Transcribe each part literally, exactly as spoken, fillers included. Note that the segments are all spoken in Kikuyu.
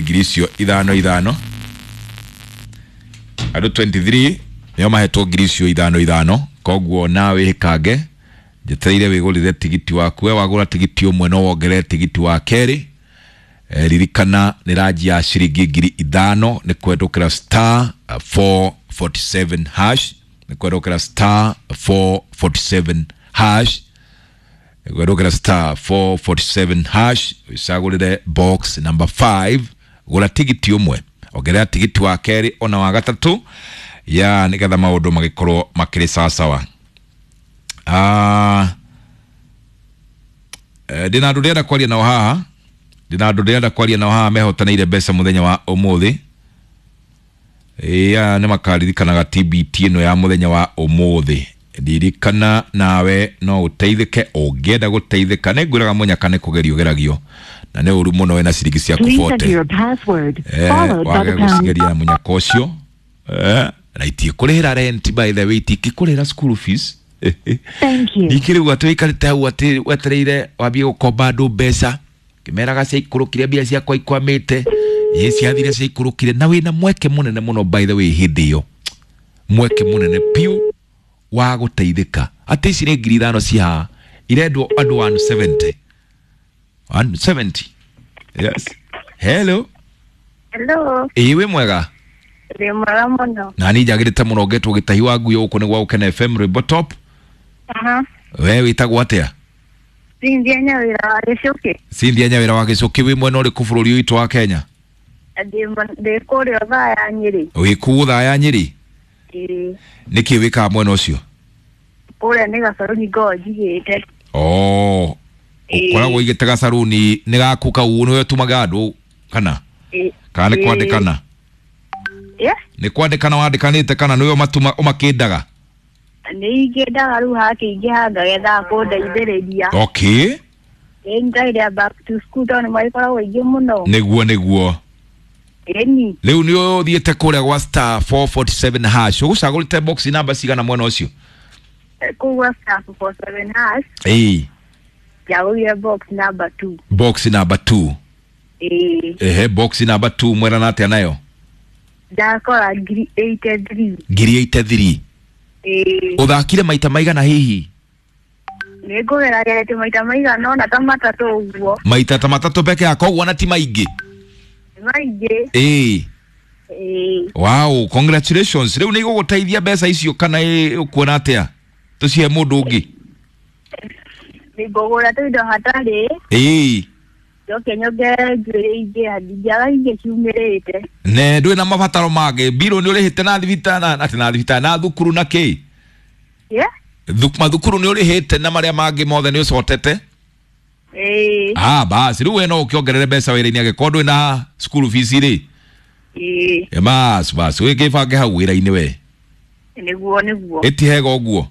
Ngiri icio ithano ithano, andũ mĩrongo ĩĩrĩ na ithatũ nĩo mahetwo ngiri icio ithano ithano. Koguo nawe hĩkange, njetereire wĩgũrĩre tigiti waku. We wagũra tigiti ũmwe, no wongerere tigiti wa kerĩ. Eh, ririkana nĩ ranji ya ciringi ngiri ithano, nĩ kwendũkĩra star four forty-seven hash, nĩ kwendũkĩra star four forty-seven hash, nĩ kwendũkĩra star four forty-seven hash, wĩcagũrĩre box number five. Gũra tigiti ũmwe, ongerera tigiti wa kerĩ ona wa gatatũ, ya nĩgetha maũndũ magĩkorwo makĩrĩ sawasawa. Ah, eh, ndĩna andũ ndĩrenda kwaria nao haha, ndĩna andũ ndĩrenda kwaria nao haha mehotanĩire mbeca mũthenya wa ũmũthĩ. Ĩya, nĩ makaririkanaga T B T ĩno ya mũthenya wa ũmũthĩ. Ririkana nawe no ũteithĩke ũngĩenda gũteithĩka. Nĩ ngwĩraga mũnyaka nĩ kũgerio geragio na nĩ ũru mũno wĩna ciringi ciaku Please enter forty your password eh, followed by wage the pound. gũcigeria na mũnyaka ũcio, eh, na itiĩkũrĩhĩra rent, by the way, itingĩkũrĩhĩra school fees. Thank you. Ningĩ rĩu atĩ wĩikarĩte hau atĩ wetereire wambie gũkomba andũ mbeca, kĩmeraga ciaikũrũkire, mbia ciakwa ikwamĩte, ĩ ciathire ciaikũrũkire, na wĩna mweke mũnene mũno, by the way, hĩndĩ ĩyo mweke mũnene piũ wa gũteithĩka, atĩ ici nĩ ngiri ithano ci haha irendwo andũ one seventy, one seventy. Yes, hello. Hello, Ĩ, wĩ mwega? Ndĩ mwega mũno. Na niĩ njagĩrĩte mũno, ngetwo Gĩtahi wa Nguyo, gũkũ nĩ gwa Gũkena F M, rwĩmbo top. Aha. We wĩtagwo atĩa? Cynthia Nyawĩra wa Gĩcũkĩ. Cynthia Nyawĩra wa Gĩcũkĩ, wĩ mwena ũrĩkũ bũrũri witũ wa Kenya? Ndĩ mo- ndĩ kũrĩa thaa ya Nyĩrĩ. Wĩ kũu thaa ya Nyĩrĩ? Ĩĩ. Nĩkĩ wĩkaga mwena ũcio? Kũrĩa nĩ gacaruni ngoragwo njigĩte. Oh, Ĩĩ. ũkoragwo ũigĩte gacaruni nĩ gaku kau, nĩwe ũtumaga andũ kana Ĩĩ. kana nĩ Ĩĩ. kwandĩkana? Ĩ? Nĩ kwandĩkana wandĩkanĩte kana nĩwe ũmatuma ũmakĩndaga? Nĩ ingĩendaga rĩu hakĩingĩha ngagetha kũndeithĩrĩria. Okay. Ĩĩ, nĩ back to school tondũ nĩ magĩkoragwo aingĩ mũno. Nĩguo, nĩguo. Ĩni. Rĩu nĩ ũthiĩte kũrĩa gwa star four forty-seven hash, ũgũcagũrĩte box namba cigana mwena ũcio? Kũu gwa star four seven hash. Ĩĩ. Njagũrire box number two. Box number two? Ĩĩ. Ehe, box number two, mwerana atĩa nayo? Ndakora ngiri eighty three. Ngiri eighty-three? Ĩĩ. Ũthakire maita maigana hihi? Nĩ ngũgerageretie maita maigana ũna, ta matatũ ũguo. Maita ta matatũ peke yako, ũguo na ti maingĩ. Nĩ maingĩ. Ĩĩ. Ĩĩ. Wow, congratulations. Rĩu nĩ igũgũteithia mbeca icio kana ĩ- ũkuona atĩa, tũcihe mũndũ ũngĩ? Nĩ ngũgũra tũindo hatarĩ. Ĩĩ. Njoke nyongerere njuĩrĩ ingĩ, ndingĩaga ingĩ ciumĩrĩte. Ne ndũrĩ na mabataro mangĩ? Mbirũ nĩ ũrĩhĩte na thibitarĩ na atĩ na thibitarĩ na thukuru na kĩ? Ĩ? Thuk- mathukuru nĩ ũrĩhĩte na marĩa mangĩ mothe nĩ ũcotete? Ĩĩ. Ah, basi rĩu we no ũkĩongerere mbeca wĩra-inĩ angĩkorwo ndũrĩ na school fees rĩ. Ĩĩ. E, bas bas, wĩkĩbange hau wĩra-inĩ we. Nĩguo, nĩguo. Ĩtihega ũguo.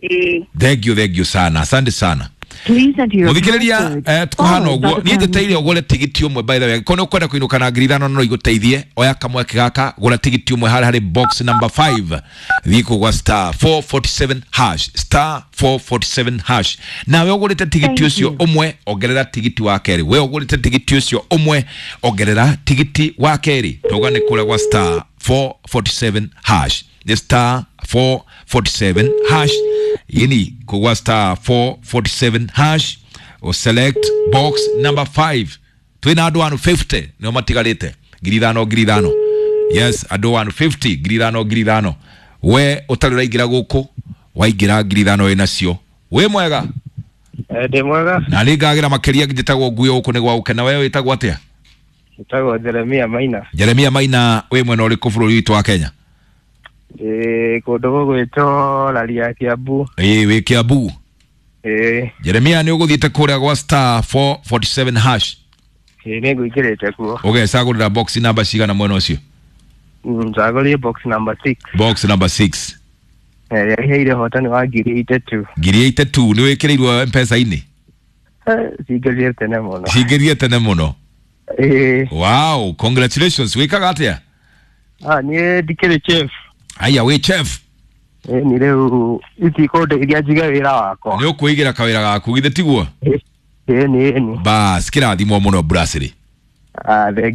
Ĩĩ. Thank you, thank you sana, asante sana. Please enter your Muthikĩrĩria, password eh, tũkũhana followed by ũguo the niĩ pound. njĩteire ũgũre tigiti ũmwe. By the way, angĩkorwo nĩ ũkwenda kũinũka na ngiri ithano no igũteithie, oya kamweke gaka, gũra tigiti ũmwe harĩa harĩ box number five, thiĩ kũu gwa star four forty-seven hash, star four forty-seven hash. Nawe ũgũrĩte tigiti Thank ũcio you. ũmwe, ongerera tigiti wa kerĩ. We ũgũrĩte tigiti ũcio ũmwe, ongerera tigiti wa kerĩ. Tauga nĩ kũrĩa gwa star four forty-seven hash, nĩ star four forty-seven hash, yini kũgwa star four forty-seven hash, o select box number five. Twĩna andũ one fifty nĩo matigarĩte, ngiri ithano ngiri ithano. Yes, andũ one fifty, ngiri ithano ngiri ithano. We ũtarĩ ũraingĩra gũkũ, waingĩra ngiri ithano wĩ nacio. Wĩ mwega? Eh, ndĩ mwega. Na nĩ ngagĩra makĩria. Njĩtagwo Nguyo, gũkũ nĩ gwa Gũkena. We wĩtagwo atĩa? Njĩtagwo Jeremia Maina. Jeremia Maina, wĩ mwena ũrĩkũ bũrũri witũ wa Kenya? Ndĩ kũndũ gũgwĩtwo Raria, Kiambu. Ĩĩ, wĩ Kiambu? Ĩĩ. Jeremia, nĩ ũgũthiĩte kũrĩa gwa star four forty-seven hash? Ĩĩ, nĩ ngũingĩrĩte kuo. Ũgecagũrĩra box namba cigana mwena ũcio? Mm, njagũrire box number six. Box number six? Eh, yaheire ũhotani wa ngiri eighty-two. Ngiri eighty-two, nĩ wĩkĩrĩirwo mpesa-inĩ? Eh, cingĩrire tene mũno. Cingĩrire tene mũno? Ĩĩ. Wow, congratulations. Wĩkaga atĩa? Ah, niĩ ndikĩrĩ chef. Aya, wĩ chef? Ĩĩ, nĩ rĩu itikũndeithia njige wĩra wakwa. Nĩ ũkwĩigĩra kawĩra gaku, githĩ tiguo? Ĩĩ, nĩ ĩni. Bas, kĩrathimwo mũno, Brasserie. Ah, thengiũ.